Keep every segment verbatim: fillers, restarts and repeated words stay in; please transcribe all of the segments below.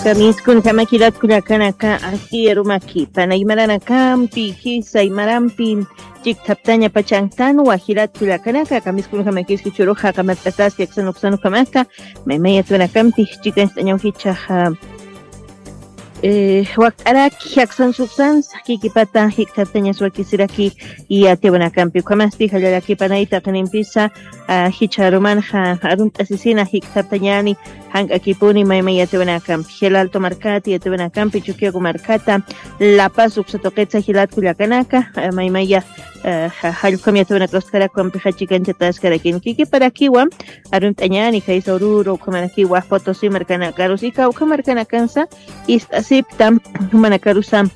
Kamiskunjama jilat kullakanaka, aski arumaki panay maranakampi, jisa imarampi chikthaptaña pachantanwa jilat kullakanaka, kamiskunjamakiski churuxa qamat'ataski aksan uksan ukhamata, maymay yatwanakampi chikanchtañaw jichaxa. Eh, wakt'araki aksan suksansa kikipata jikthaptañas wakisiraki, yatwanakampi ukhamasti jallaraki panay taqinimpisa, ah, jichharumanxa arunt'asisina jikthaptañani, jank'akipuni maymay yatwanakampi, Gelalto markata yatwanakampi, Chukiyawu markata, La Paz uksa tuqitsa jilat kullakanaka, eh, maymaya, eh, ja-, jallq'am yatwanakastkarakpampixa chikanchataskarakini. Kikiparakiwa arunt'añani, jaysa Oruro, ukhamarakiwa Potosí markanakarus, ika ukha markanakansa ist'asipta, jumanakarusa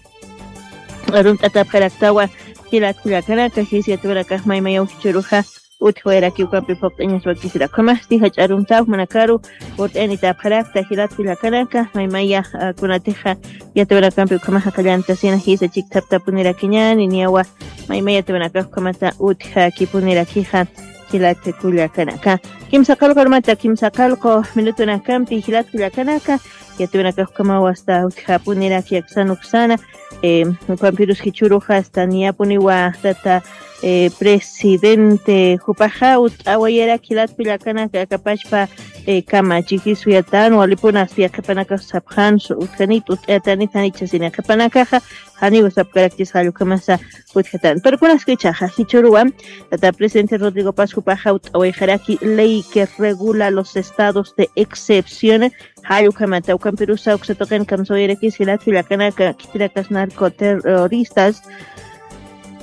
arunt'atapxaraktawa jilat kullakanaka, jisa yatwanakax maymayaw jichharuxa utjawayaraki ukampi phuqt'añas wakisiraki. Ukhamasti jach'a aruntaw jumanakaru purt'ayanitapxarakta jilat kullakanaka, maymaya, ah, kunatixa yatwanakampi ukhamaxa qallantasina jisa chikthaptapunirakiñani, niyawa maymay yatwanakax ukhamata utjakipunirakixa jilat kullakanaka. Kimsa qallqu arumata, kimsa qallqu minutunakampi jilat kullakanaka, yatwanakax ukhamawa hasta utjapuniraki aksan uksana, eh, ukampirus jichhurux hasta niyapuniwa tata, eh, presidente jupaxa ut'awayaraki jilat kullakanaka, akapachpa, eh, kamachi jisa yatiyän, walipun hasta yaqhipanakax sapxänsa utjanit, ut'ayatanit, janichasina yaqhipanakaxa, janiw sapkarakchis jall ukhamasa utjatän. Pero kunaskichaxa jichhüruwa tata presidente Rodrigo Paz jupaxa ut'awayxaraki ley que regula los estados de excepción, jall ukhamata, ukampirusa uksa tuqin kamsawayarakis jilat kullakanaka, khitinakas narcoterroristas,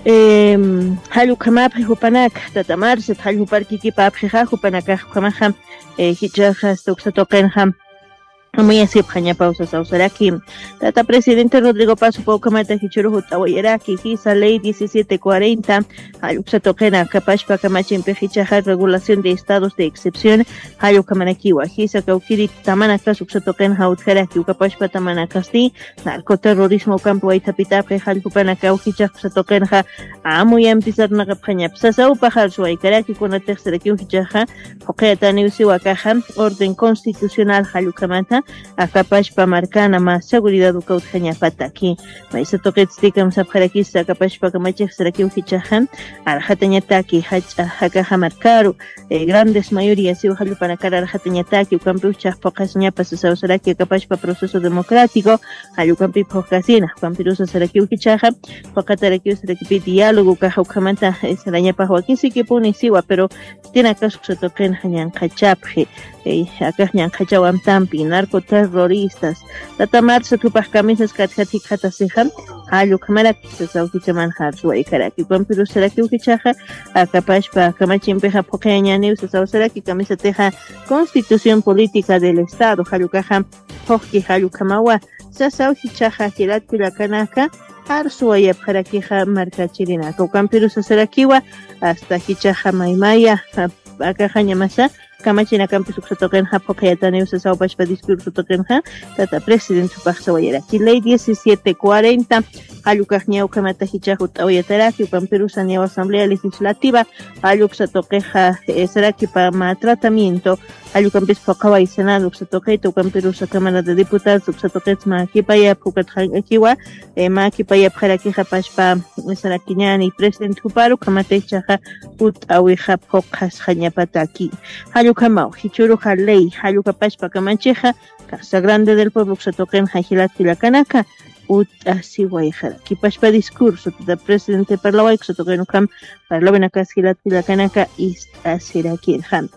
em, jall ukhamapxi jupanaka, tata Marcet, jall jupar kikipapxixa jupanakax ukhamaxa, eh, jichhaxa hasta uksa tuqinxa amuyasipxañapaw sasaw saraki. Tata presidente Rodrigo Paz jupa ukhamata jichhürux ut'awayaraki, jisa ley diecisiete cuarenta, jall uksa tuqina akapachpa kamachimpix jichhaxa regulación de estados de excepción, jall ukhamarakiwa, jisa kawkiri tamanakas uksa tuqinxa utjaraki, ukapachpa tamanakasti narcoterrorismo ukampi waythapitapxi, jall jupanakaw jichhax uksa tuqinxa amuyampi sarnaqapxañapa sasaw, paxar suwaykaraki, kunatix sarakiw jichhaxa phuqhayataniw siwa akaxa orden constitucional jall ukhamata, akapachpa markana mä seguridad uka utjañapataki. Maysa tuqitsti kamsapxarakisa akapachpa kamachix sarakiw jichhaxa, arxatañataki jach'a akaxa markaru, eh, grandes mayoría siwa jall jupanakar arxatañataki, ukampiw jichhax phuqhasiñapa sasaw saraki, akapachpa proceso democrático jall ukampi phuqhasina, ukampirusa sarakiw jichhaxa phuqhatarakiw sarakipi diálogo ukaxa ukhamata, eh, sarañapax wakisikipuni siwa, pero khitinakas uksa tuqinxa ñanqhachapxi, eh, akax ñanqhachaw amtampi, narcoterroristas. Tata Marcet jupax kamisas katjat jikxatasixa, jall ukhamaraki sasaw jichhamanxa arsuwaykaraki, ukampirus sarakiw jichhaxa akapachpa kamachimpixa phuqhayañäniw sasaw saraki, kamisatixa Constitución Política del Estado jall ukaxa phuqki jall ukhamawa sasaw jichhaxa jilat kullakanaka, arsuwayapxarakixa markachirinaka, ukampirusa sarakiwa hasta jichhaxa maymaya, a-, akaxañamasa kamachinakampis uksa tuqinxa phuqhayataniw sasaw pachpa discurso tuqinxa tata presidente jupax sawayaraki. Ley diecisiete cuarenta jall ukax niya ukhamata jichhax ut'awayataraki, ukampirusa niyaw Asamblea Legislativa jall uksa tuqixa, eh, sarakipa mä tratamiento jall ukampis phuqhaway Senado uksa tuqita, ukampirusa Cámara de Diputados uksa tuqita mä kipayapx ukat jank'akiwa, eh, mä kipayapxarakixa pachpa, eh, sarakiñäni presidente juparu, ukhamata jichhaxa ut'awixa phuqhasxañapataki. Jall ukhamaw jichhüruxa ley jall uka pachpa kamachixa Casa Grande del Pueblo uksa tuqinxa jilat kullakanaka ut'asiwayxaraki, pachpa discurso tata presidente parlaway uksa tuqin ukham parlawinakas jilat kullakanaka ist'asirakirxam.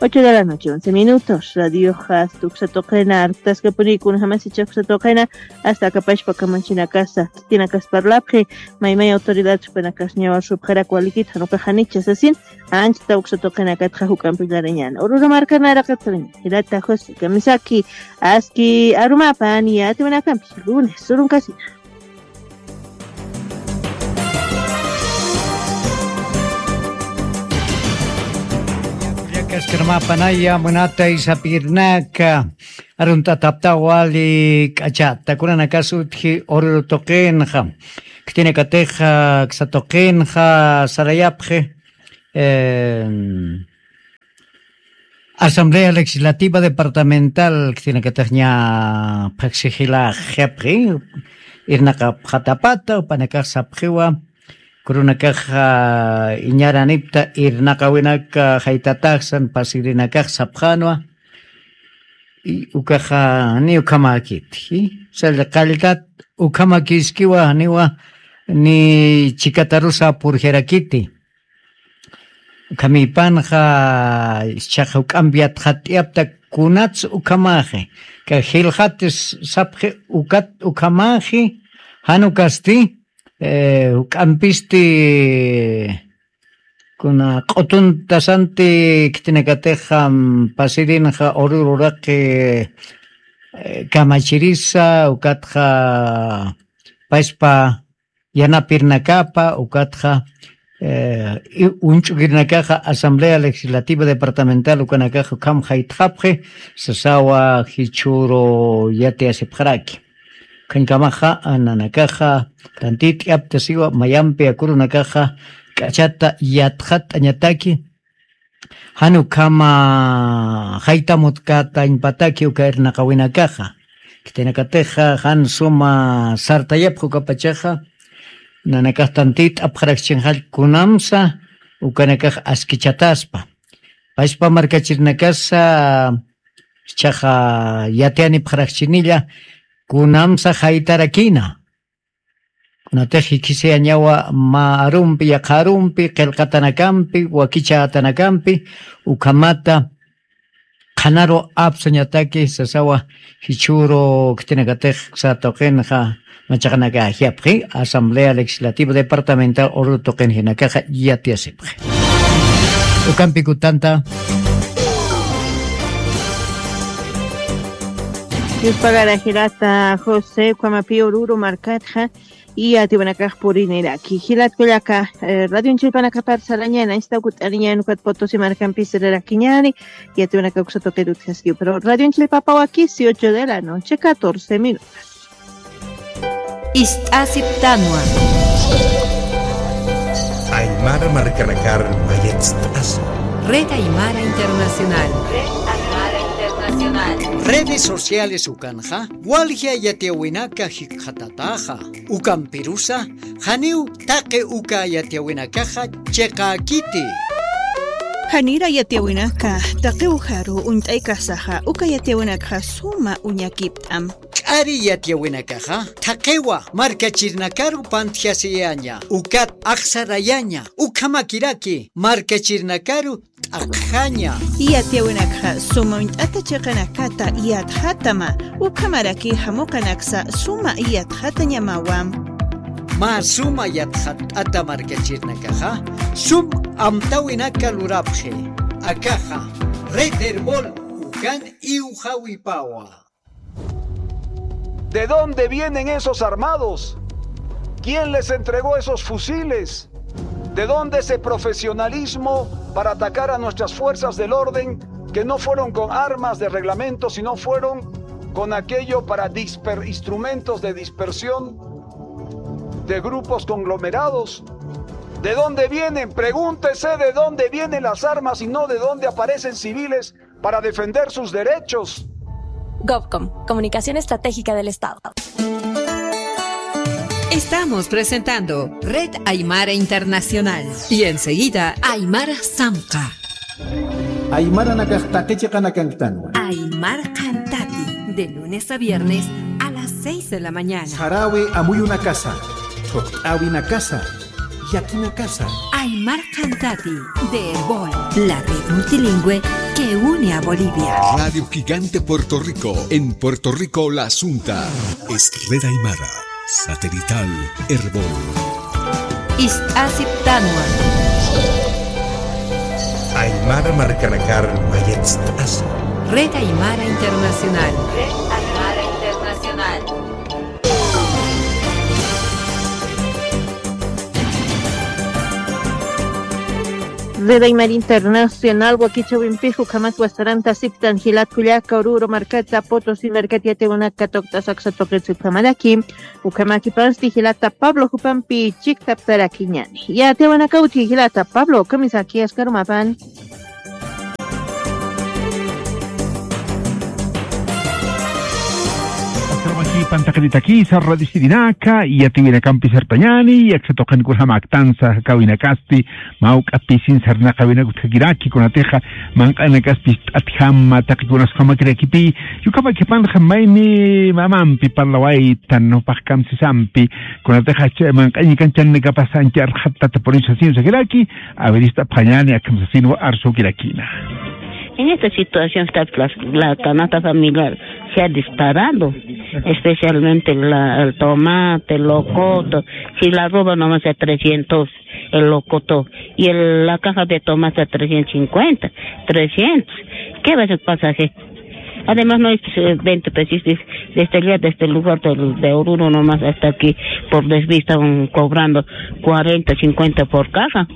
Ocho de la noche, once minutos. Radioxa hasta uksa tuqina artaskapuni, kunjamas jichhax uksa tuqina hasta akapachpa kamachinakasa, khitinakas parlapxi, maymay autoridad jupanakas niyaw arsupxarak walikit, jan ukax janicha sasin, anchhita uksa tuqinakatxa juk'ampi larañäni. Oruro marka naraqat sarañäni. Jilata José, kamisaki, aski arumapa, niya atiwanakampi, lunes, urunkasina. Kullakaskarmapanaya munatay sapirnaka, arunt'atapta wali k'achata, kunanakas utji Oruro tuqinxa, khitinakatixa aksa tuqinxa sarayapxi, em, Asamblea Legislativa Departamental khitinakatix ña phaxsixila jipxi, irnaqapxatapata, upanakax sapxiwa, kurunakaxa iñaranipta irnaqawinaka jaytataxsan pasirinakax sapxanwa, y ukaxa ni ukhamäkiti, salla qalltat ukhamäkiskiwa, niwa ni chikatarusa purjirakiti. Ukhamipanxa, ischhaxa juk'ampi yatxatt'iyapta kunats ukhamaxi. Ka jilxatis sapxi ukat ukhamaxi, jan ukasti, eh, juk'ampisti, kuna q'utuntasanti khitinakatixa, mm, pasirinxa urururaqi, eh, kamachirisa, ukatxa paspa yanapirnakapa, ukatxa, eh, i-, uñch'ukirinakaxa Asamblea Legislativa Departamental ukanakaxa ukham jaytxapxi, sasawa jichhüru yatiyasipxaraki. Ukhankamaxa, nanakaxa, tantit'iyaptasiwa, mayampi akurunakaxa, k'achata yatxatt'añataki, jan ukhama jaytamutkätañpataki uka irnaqawinakaxa. Khitinakatixa jan suma sartayapxi ukapachaxa, nanakax tantit'apxarakchinxall kunamsa ukanakax askichataspa. Paspa markachirinakasa, ischhaxa yatiyanipxarakchinilla kunamsa jaytarakina. Kunatix jikisiyañawa mä arumpi, yaqha arumpi, qillqatanakampi, wakichätanakampi, ukhamata qhanaru apsuñataki sasawa jichhüru khitinakatix uksa tuqinxa machaqanakax ajyapxi, Asamblea Legislativa Departamental ururu tuqinjinakaxa yatiyasipxi. Ukampi kutanta. Dios pagara jilata José, ukhamapi ururu markatxa, yatiyawinakax puriniraki. Jilat kullaka, eh, Radio Chilpanakapar sarañäni, añstaw kut'ariñäni, ukat Potosí markampi sirirakiñäni, yatiyawinakax uksa tuqit utjaskiw. Pero Radio Chilpapawaki, siete de la noche, catorce minutos. Ist'asiptanwa. Aymara markanakar mayatst'asu. Red Aymara Internacional. Red Aymara Internacional. Redes sociales ukanxa, walja yatiyawinaka jikxatataxa. Ukampirusa, janiw taqi uka yatiyawinakaxa chiqäkiti. Janira yatiyawinaka, taqi ujaru uñt'aykasaxa, uka yatiyawinakxa suma uñakipt'am. K'ari yatiyawinakaxa, thaqiwa markachirinakaru pantjasiyaña, ukat axsarayaña, ukhamakiraki markachirinakaru t'aqjaña. Yatiyawinakxa suma uñt'ata chiqanakata yatxatama, ukhamaraki jamuqanaksa suma yatxatañamawa. Mä suma yatxatt'ata markachirinakaxa, sum amtawinaka lurapxi. Akaxa, Red Erbol, ukan iwjawipawa. ¿De dónde vienen esos armados? ¿Quién les entregó esos fusiles? ¿De dónde ese profesionalismo para atacar a nuestras fuerzas del orden que no fueron con armas de reglamento, sino fueron con aquello para disper-, instrumentos de dispersión de grupos conglomerados? ¿De dónde vienen? Pregúntese de dónde vienen las armas y no de dónde aparecen civiles para defender sus derechos. Govcom, Comunicación Estratégica del Estado. Estamos presentando Red Aymara Internacional y enseguida Aymara Samqa. Aymara nakaq taqichiqanakanktanwa. Aymar Qhantati, de lunes a viernes a las seis de la mañana. Sarawi amuyunakasa, thuqt'awinakasa, yakinakasa. Aymar Qhantati, de Erbol, la red multilingüe que une a Bolivia. Radio Gigante Puerto Rico, en Puerto Rico la Asunta. Es Red Aymara, satelital Erbol. Ist'asiptanwa. Aymara markanakar mayatst'asu. Red Aymara Internacional. Red Aymara Internacional. Red Aymara Internacional wakichäwimpix ukhamat wasarantasiptan jilat kullaka, Oruro markata, Potosí markata yatiyawinaka tuqt'asa aksa tuqitsa ukhamaraki. Ukhamäkipasti jilata Pablo jupampi chiktaptarakiñäni. Yatiyawinaka utji jilata Pablo, kamisaki askarumapan. Trabajipan taqinitakisa radisirinaka, yatiwinakampi sartañani, yaksa tuqin kunjama aktansa jakawinakasti, mawk'a pisin sarnaqawinakut jakiraki, kunatixa manq'anakaspis t'atjama, taqikunas jamakirakipi, yukama kipanxa mayni mamampi parlawaytan, nupax kamsisampi, kunatixa manq'añikan channikapasa ancha arxattata por eso sasin sakiraki, averista phañani akamsasinwa arsukirakina. En esta situación está la, la canasta familiar se ha disparado, especialmente la, el tomate, el locoto. Si la roba nomás a trescientos, el locoto, y el, la caja de tomate a trescientos cincuenta, trescientos. ¿Qué va a ser pasaje? Además, no es eh, veinte pesos, es- desde allá, desde el lugar del- de Oruro nomás hasta aquí, por desvista, un, cobrando cuarenta, cincuenta por caja.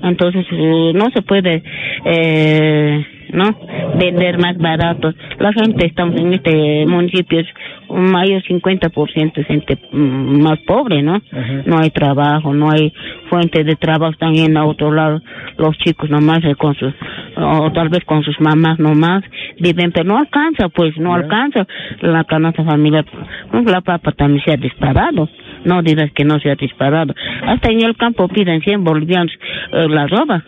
Entonces, eh, no se puede, eh, ¿no? Vender más barato. La gente, estamos en este municipio, es un mayor cincuenta por ciento es gente mm, más pobre, ¿no? No hay trabajo, no hay fuente de trabajo, están yendo a otro lado los chicos nomás eh, con sus, o tal vez con sus mamás nomás viven, pero no alcanza, pues, no alcanza la canasta familiar. Pues, la papa también se ha disparado, no dirás que no se ha disparado. Hasta en el campo piden cien bolivianos eh, la roba.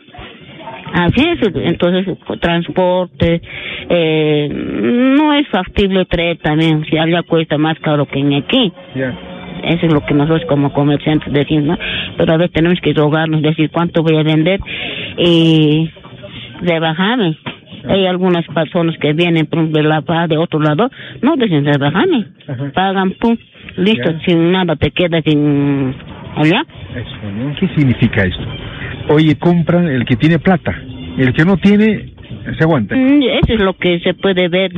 Así es, entonces, transporte, eh, no es factible traer también, si allá cuesta más caro que en aquí. Ya. Eso es lo que nosotros como comerciantes decimos, ¿no? Pero a veces tenemos que rogarnos, decir, ¿cuánto voy a vender? Y rebajarme. Hay algunas personas que vienen por ejemplo, de La Paz, de otro lado, no dicen rebajarme. Ajá. Pagan, pum, listo, Ya. sin nada, te quedas sin allá. Eso, ¿no? ¿Qué significa esto? Oye, compran el que tiene plata, el que no tiene, se aguanta. Mm, eso es lo que se puede ver,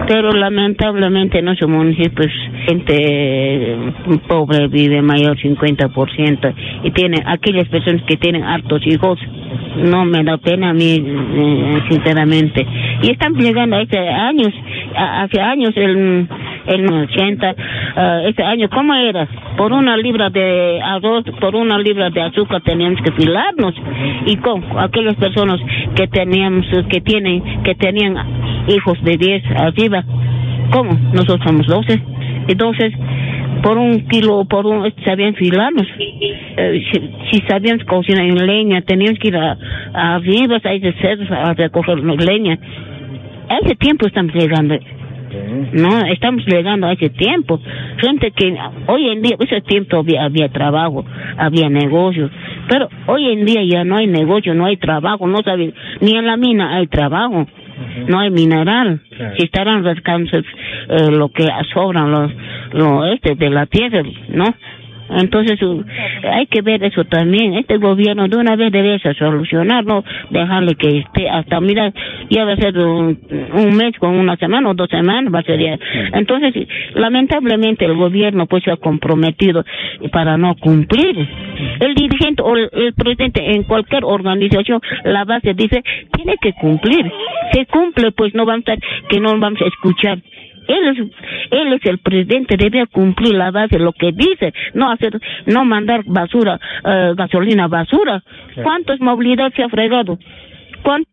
pero lamentablemente en nuestro municipio pues, gente eh, pobre vive mayor cincuenta por ciento y tiene aquellas personas que tienen hartos hijos, no me da pena a mí, eh, sinceramente. Y están llegando a este años, a- hace años, el, el ochenta, ah, este año, ¿cómo era? Por una libra de arroz, por una libra de azúcar teníamos que filarnos. Y con aquellas personas que teníamos, que tienen, que tenían hijos de diez arriba, ¿cómo? Nosotros somos doce. Entonces, por un kilo, por un, sabían filarnos. Eh, si, si sabíamos cocinar en leña, teníamos que ir a, a arriba, ahí de cerros, a recoger leña. A ese tiempo estamos llegando. No, estamos llegando a ese tiempo. Gente que hoy en día, ese tiempo había, había trabajo, había negocio, pero hoy en día ya no hay negocio, no hay trabajo, no sabe, ni en la mina hay trabajo, no hay mineral. Si estarán rascando eh, lo que sobran los, lo este de la tierra, ¿no? Entonces, uh, hay que ver eso también. Este gobierno de una vez debe solucionar, no dejarle que esté hasta, mira, ya va a ser un, un mes con una semana o dos semanas, va a ser ya. Entonces, lamentablemente el gobierno pues se ha comprometido para no cumplir. El dirigente o el, el presidente en cualquier organización, la base dice, tiene que cumplir. Se cumple, pues no vamos a, que no vamos a escuchar. Él es, él es el presidente, debe cumplir la base, lo que dice, no hacer, no mandar basura, eh, gasolina basura. ¿Cuántos movilidad se ha fregado? ¿Cuántos?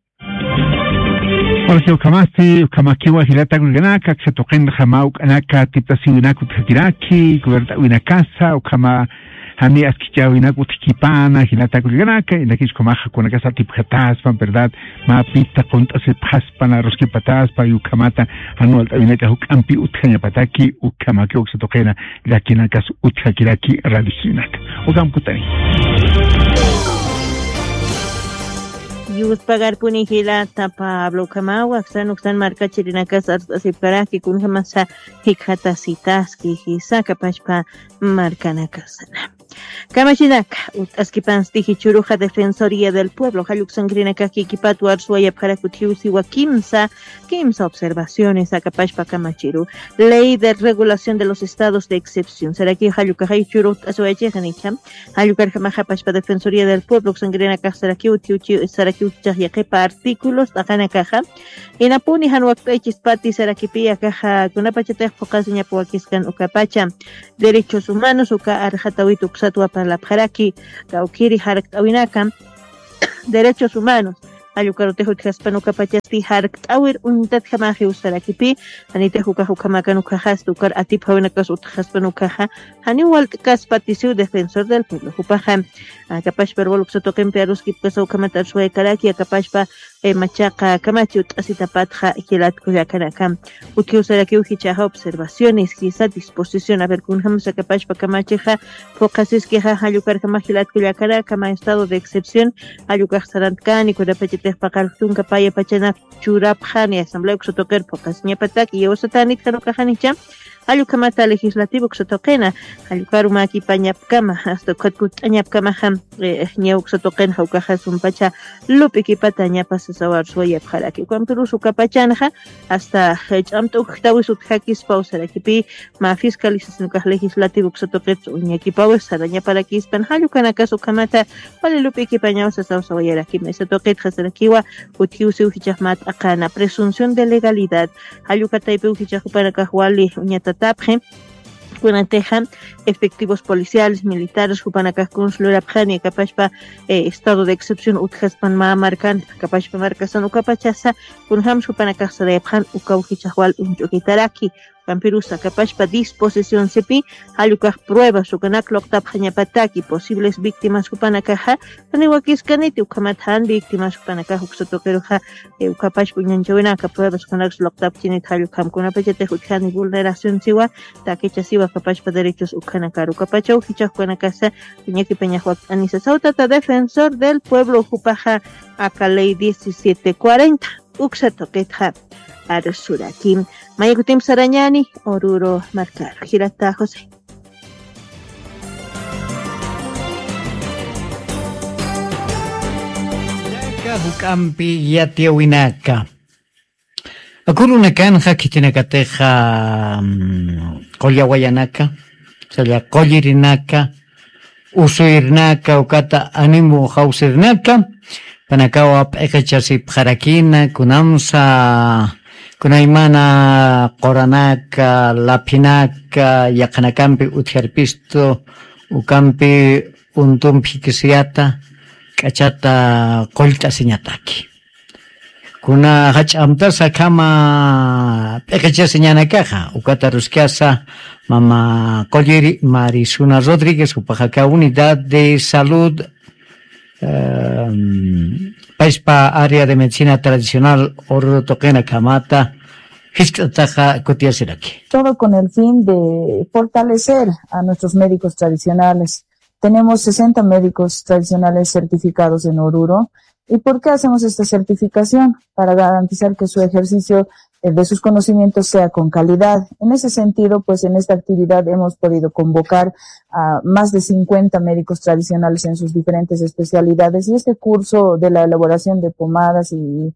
Jorge, ukhamasti, ukhamakiwa jilata kullkanaka, aksa tuqinxa mä uk'anaka tipt'asiwinakut jakiraki, kubert'awinakasa, ukhama jani askichäwinakut jikipana, jilata kullkanaka, inakich ukhamaxa kunakasa atipjataspa, ¿verdad? Mä pita qunt'asipxaspa, na ruskipataspa, y ukhamata jan walt'awinaka juk'ampi utjañapataki, ukhamaki uksa tuqina, llakinakas utjakiraki, radiosinaka. Ukham kutani. Yuspagarpuni jilata Pablo, ukhamawa, aksan uksan markachirinakas arst'asipkaraki, kunjamasa jikxatasitaski, jisa kapachpa markanakasana. Kamachinaka, ut'askipansti jichhüruxa Defensoría del Pueblo, jalluksankirinakax kikipatwa arsuwayapxarak utjiw siwa kimsa, kimsa observaciones akapachpa kamachiru. Ley de Regulación de los Estados de Excepción. Saraki jallukaxa jichhüru ut'asiwayachixanicha. Jallukarjamaxa pachpa Defensoría del Pueblo, uksankirinakax saraki utjiw chi-, saraki utjax yaqhipa artículos t'aqanakaxa. Inapuni jan wakt'aychispati sarakipi akaxa kunapachatix phuqasiñapa wakiskan ukapacha. Derechos humanos, uka arxatawit uksatwa parlapxaraki, kawkiri jarkt'awinaka, derechos humanos, Jall ukarutix utjaspan ukapachasti jarkt'äwir uñtatjamaxiw sarakipi, janitix ukax ukhamakan ukkhaxasti ukar atipjawinakas utjaspan ukhaxa, janiw walt'kaspatisiw Defensor del Pueblo jupaxa. Akapashpa ruwal uksa tuqimpi aruskipkasa ukhamat arswayakaraki, akapashpa machaqa kamachi ut'asitapatxa jilat kullakanaka. Utjiw sarakiw jichhaxa observaciones, jisa disposición, a ver, kunjamsa akapashpa kamachixa phuqhasiskixa, jall ukarjamax jilat kullakanaka, mä estado de excepción jall ukax sarantkani, kunapachatix paqar tunka paya pachanak churapxani, asamblea uksa tuqir phuqhasiñapataki, iyawsatanit jan ukaxanicha, jall ukhamata legislativo uksa tuqina, jall ukaru mäkipañapkama, hasta ukhat kutt'añapkamaxa, ña uksa tuqinxa ukaxa sumpacha lup'ikipata ñapa sasaw arswayapxaraki. Ukampirus ukapachanxa, hasta ch'amt'ukjtawis utjakispaw sarakipi, mä fiscalización ukax legislativo uksa tuqit uñakipawis sarañaparakispan, jall ukanakas ukhamata wali lup'ikipañaw sasaw sawayaraki. Maysa tuqitxa sarakiwa, utjiwsiw jichhax mä t'aqana, presunción de legalidad, jall uka taypiw jichhax jupanakax wali uñatatapxi, kunatixa efectivos policiales, militares jupanakax kuns lurapxani, akapashpa estado de excepción utjaspan mä markan, akapashpa markasan ukapachasa, kunjams jupanakax sarayapxan ukaw jichhax wal uñch'ukitaraki. Ukampirusa akapashpa disposición sipi, jall ukax pruebas ukanak luqtapxañapataki, posibles víctimas jupanakaxa, janiw wakiskaniti, ukhamat jan víctimas jupanakax uksa tuqiruxa, ukapashpa uñanchawinaka pruebas ukanaksa luqtapxchinit, jall ukham kunapachatix utjani vulneración siwa, takicha siwa, akapashpa derechos ukhanakar ukapachaw jichhax ukanakasa uñakipañax wakt'anisa. Saw tata Defensor del Pueblo jupaxa aka ley diecisiete cuarenta uksa tuqitxa arsuraki. Maya kutimp sarañani Oruro markaru. Jilata José. Llaka juk'ampi yatiyawinaka. Akurunakanxa khitinakatixa, mm, qullawayanaka, salla qullirinaka, usuyirnaka, ukata animu jawsirnaka, panakawa p'iqichasipxarakina, kunamsa, kunaymana quranaka, laphinaka, yaqhanakampi utjarpistu, ukampi untumpi jikisiyata, k'achata qullt'asiñataki. Kuna jach'amtasa akhama p'iqichasiñanakaxa, ukata aruskasa mama qulliri Marisuna Rodríguez, jupaxa aka unidad de salud, em, payspa área de medicina tradicional Oruro tuqinakhamata, jiskt'ataxa kutiyasiraki. Todo con el fin de fortalecer a nuestros médicos tradicionales. Tenemos sesenta médicos tradicionales certificados en Oruro. ¿Y por qué hacemos esta certificación? Para garantizar que su ejercicio, eh, de sus conocimientos sea con calidad. En ese sentido, pues, en esta actividad hemos podido convocar a más de cincuenta médicos tradicionales en sus diferentes especialidades. Y este curso de la elaboración de pomadas y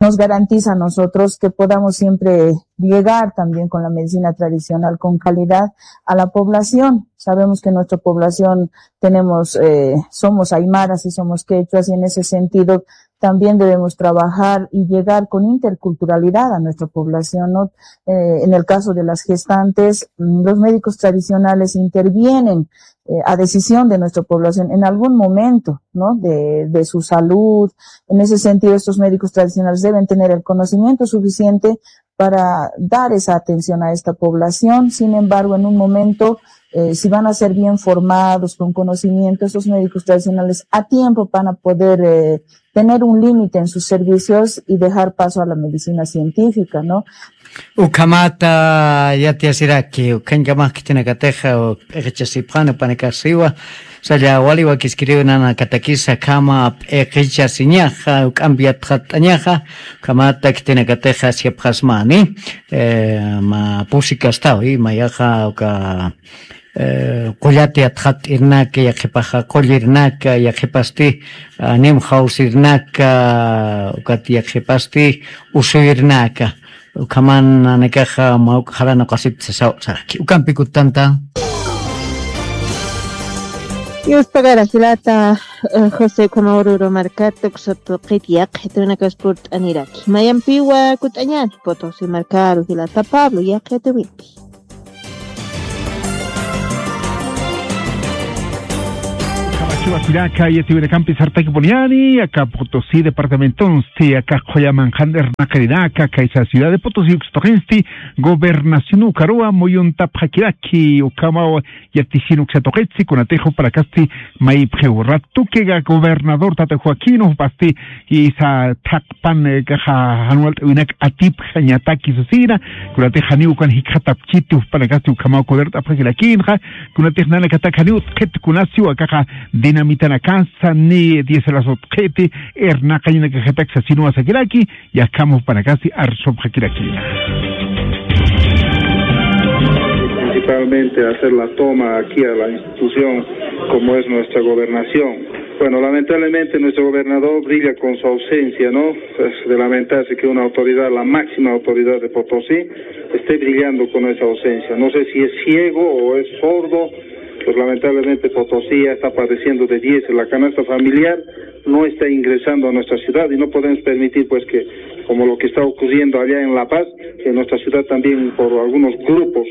nos garantiza a nosotros que podamos siempre llegar también con la medicina tradicional con calidad a la población. Sabemos que nuestra población tenemos, eh, somos aymaras y somos quechuas, y en ese sentido también debemos trabajar y llegar con interculturalidad a nuestra población, ¿no? Eh, en el caso de las gestantes, mm, los médicos tradicionales intervienen, eh, a decisión de nuestra población en algún momento, ¿no? De, de su salud. En ese sentido, estos médicos tradicionales deben tener el conocimiento suficiente para dar esa atención a esta población. Sin embargo, en un momento, eh, si van a ser bien formados, con conocimiento, esos médicos tradicionales a tiempo van a poder, eh, tener un límite en sus servicios y dejar paso a la medicina científica, ¿no? Ukhamata yatiyasiraki, ukhañkamax khitinakatixa, p'iqichasipxani upanakaxsiwa, salla wali wakiskiriw nanakatakisa akhama p'iqichasiñaxa, juk'ampi yatxatt'añaxa, ukhamata khitinakatixa siyapxasmani, eh, mä pusi kastawi, mayaxa uka, eh, qullata yatxatt'irnaka, yaqhipaxa qullirnaka, yaqhipasti, ah, animu jawsirnaka, ukat yaqhipasti usuyirnaka. Ukhaman nanakaxa mä uk jalan uqasipta sasaw saraki. Ukampi kuttanta. Yuspagara jilata, eh, José, ukhama Oruro markata uksa tuqit yaqhitunakas purt'aniraki. Mayampiwa kutt'añani, Potosí markaru jilata Pablo, yaqhituwimpi. Ukhama Chiwasiraka, yatiwinakampi sartakipuniyani, aka Potosí departamentonsti, aka Qoyamanqan irnaqirinaka, kaysa ciudad de Potosí uksa tuqinsti, gobernación ukaruwa muyuntapxakiraki, ukamaw yatisin uksa tuqitsi, kunatix jupanakasti mayipxiw. Ratukiga gobernador tata Joaquín, jupasti, isa thaqpan, eh, kaxa jan walt'äwinak atipxañataki sasina, kunatix janiw ukan jikxatapkiti, jupanakasti ukhamaw gobernapxakirakïnxa, kunatix nanakatak janiw utjkit kunasiw akaxa dinamitanakasa ni diésel utjkiti, irnaqañanakajatak sasinwa sakiraki, yäkham jupanakasti arsupxakirakïna. Principalmente hacer la toma aquí a la institución como es nuestra gobernación. Bueno, lamentablemente nuestro gobernador brilla con su ausencia, ¿no? Es de lamentarse que una autoridad, la máxima autoridad de Potosí, esté brillando con esa ausencia. No sé si es ciego o es sordo, pues lamentablemente Potosí ya está padeciendo de diésel. La canasta familiar no está ingresando a nuestra ciudad y no podemos permitir, pues, que, como lo que está ocurriendo allá en La Paz, en nuestra ciudad también por algunos grupos,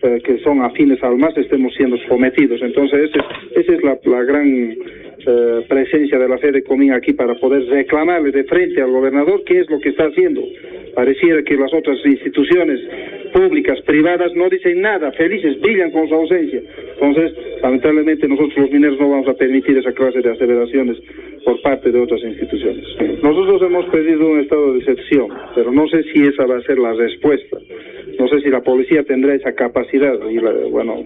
eh, que son afines al MAS estemos siendo sometidos. Entonces, ese es, esa es la, la gran, eh, presencia de la Fedecomín aquí para poder reclamarle de frente al gobernador qué es lo que está haciendo. Pareciera que las otras instituciones públicas, privadas, no dicen nada, felices, brillan con su ausencia. Entonces, lamentablemente, nosotros los mineros no vamos a permitir esa clase de aseveraciones por parte de otras instituciones. Nosotros hemos pedido un estado de excepción, pero no sé si esa va a ser la respuesta. No sé si la policía tendrá esa capacidad. Y la, bueno,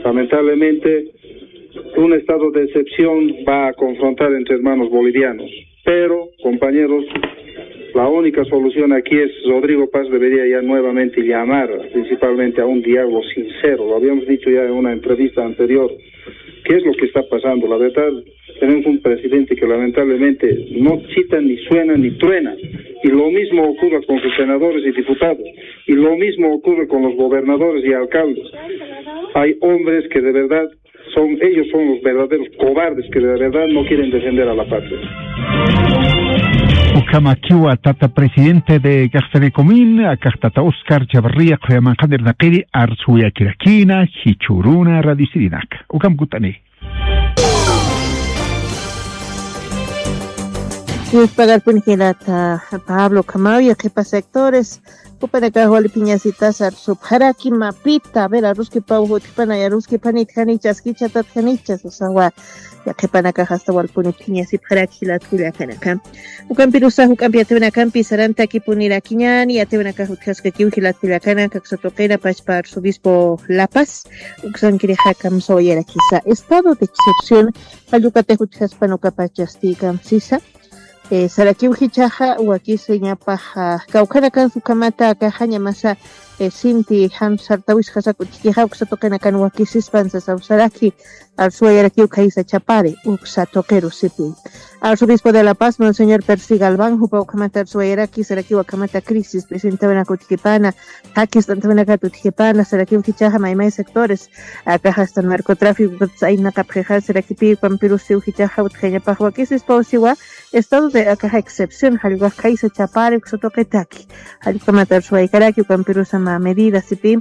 lamentablemente, un estado de excepción va a confrontar entre hermanos bolivianos. Pero, compañeros, la única solución aquí es, Rodrigo Paz debería ya nuevamente llamar principalmente a un diálogo sincero. Lo habíamos dicho ya en una entrevista anterior. ¿Qué es lo que está pasando? La verdad, tenemos un presidente que lamentablemente no chita, ni suena, ni truena. Y lo mismo ocurre con sus senadores y diputados. Y lo mismo ocurre con los gobernadores y alcaldes. Hay hombres que de verdad son, ellos son los verdaderos cobardes que de verdad no quieren defender a la patria. Ukhamakiwa tata presidente de Caja Fedecomín, akax tata Oscar Chavarría, Qoyamanqan irnaqiri, arsuyakirakïna, jichhüruna, radio Sirinak. Ukham kut'ani. Yuspagarpuni jilata Pablo, ukhamaw yaqhipa sectores, jupanakax wali phiñasitas arsupxaraki mapita, a ver, aruskipaw jutjpana, aruskipanit janichas, jichatat janichas, usawa, yaqhipanakax asta walpuni phiñasipxaraki jilat kullakanaka. Ukampirusa, juk'ampi yatiwinakampi sarantakipunirakiñäni, yatiwinakax utjaskakiw jilat kullakanaka, uksa tuqina pachpa arzobispo La Paz, uksankirixa kamsawayarakisa. Estado de excepción, jallukatix utjaspan ukapachasti kamsisa. Eh, sarakiw jichhaxa, wakisiñapax, ah, kawkhanakansa ukhamata akaxañamasa, eh, sinti jan sartawisxasak utjkixa, uksa tuqinakan wakisispan sasaw saraki, arsuwayarakiw khaysa chapari, uksa tuqiru sipi. Arzobispo de La Paz, Monseñor Percy Galván, jupa ukhamata arsuwayaraki, sarakiw akhamata crisis, presentäwinak utjkipana, jakist'antäwinakat utjkipana, sarakiw jichhaxa maymay sectores, akax hasta narcotráfico, aynaqapxixa, sarakipi ukhampirusiw jichhaxa utjañapax wakisispaw siwa, estado de akaxa excepción, jallwax khaysa chapari uksa tuqitaki. Jallwkamatar suwaykaraki, ukhampirusa mä medida sipi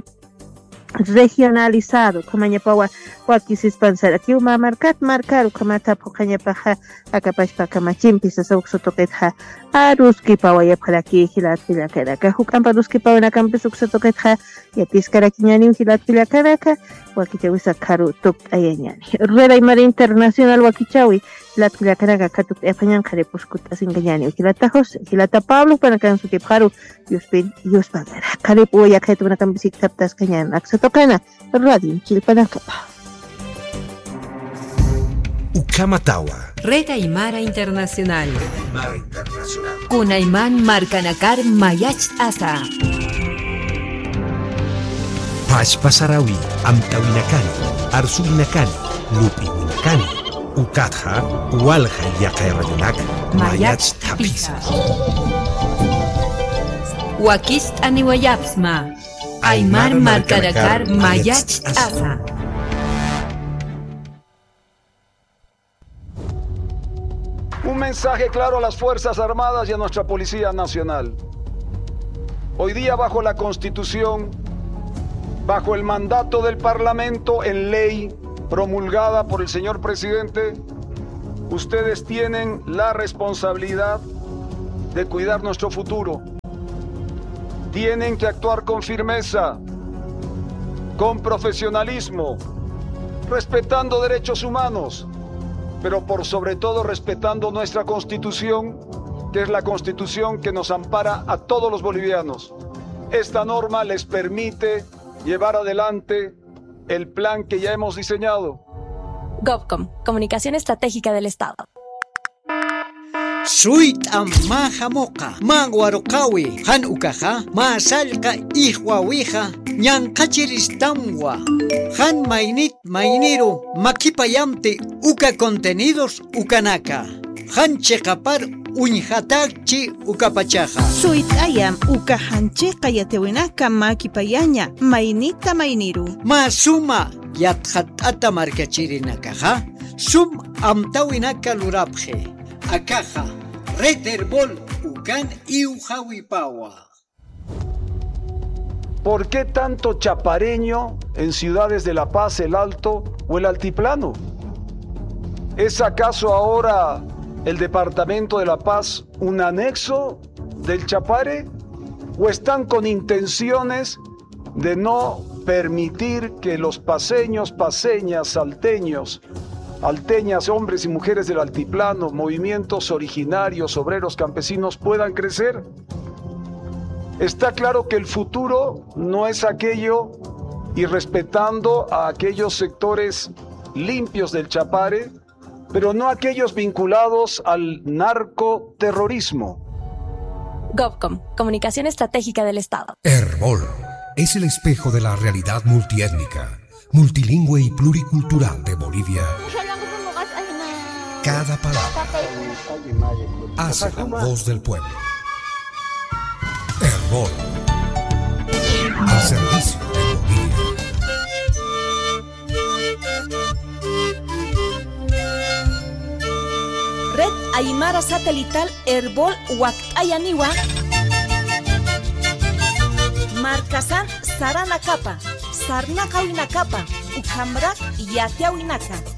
regionalizado, ukhamañapawa wakisispan sarakiw mä markat markar, ukhamata phuqhañapaxa, akapachpa kamachimpi sasa uksa tuqitxa, aruskipawayapxaraki jilat kullakanaka. Juk'ampa aruskipawinakampis uksa tuqitxa, yatiskarakiñäniw jilat kullakanaka, wakichäwisa karu tukt'ayañäni. Red Aymara Internacional wakichäwi, jilat kullakanaka, katukt'ayapañan qharip uskutt'asinkañäniw. Jilata José, jilata Pablo, jupanakan sutipxaru, Yuspin, yuspagara. Qharip uwa yaqhitunakampi siktaptaskañan aksa tuqina, radio chillpanakapa. Ukhamatawa. Red Aymara Internacional. Kunayman markanakar mayacht'asa. Pachpa sarawi, amtawinakani, arsuwinakani, lup'iwinakani, ukatxa, walja yaqay radionak, mayacht'apisa. Mayacht'apisa. Wakicht'aniwayapxsma. Aymar markanakar mayacht'asa. Un mensaje claro a las Fuerzas Armadas y a nuestra Policía Nacional. Hoy día, bajo la Constitución, bajo el mandato del Parlamento en ley promulgada por el señor presidente, Ustedes tienen la responsabilidad de cuidar nuestro futuro. Tienen que actuar con firmeza, con profesionalismo, respetando derechos humanos, pero por sobre todo respetando nuestra Constitución, que es la Constitución que nos ampara a todos los bolivianos. Esta norma les permite llevar adelante el plan que ya hemos diseñado. Govcom, Comunicación Estratégica del Estado. Suyt'am mä jamuqa, mä waruqawi, jan ukaxa, mä sallqa ijwawixa, ñanqhachiristamwa. Jan maynit mayniru makipayamti uka contenidos ukanaka. Jan chiqapar uñjatakchi ukapachaxa. Suyt'ayam uka jan chiqa yatiwinaka makipayaña maynita mayniru. Mä suma yatxatt'ata markachirinakaxa, sum amtawinaka lurapxi. Akaxa, Red Erbol ukan iwjawipawa. ¿Por qué tanto chapareño en ciudades de La Paz, El Alto o el Altiplano? ¿Es acaso ahora el departamento de La Paz un anexo del Chapare? ¿O están con intenciones de no permitir que los paceños, paceñas, salteños, alteñas, hombres y mujeres del altiplano, movimientos originarios, obreros, campesinos puedan crecer? Está claro que el futuro no es aquello, y respetando a aquellos sectores limpios del Chapare, pero no aquellos vinculados al narcoterrorismo. Govcom, Comunicación Estratégica del Estado. Erbol es el espejo de la realidad multiétnica, multilingüe y pluricultural de Bolivia. Cada palabra hace la voz del pueblo. Erbol, al servicio de Bolivia. Red Aymara Satelital Erbol wakt'ayaniwa. Markasan saranakapa, sarnaqawinakapa, ukhamrak yatiawinaka.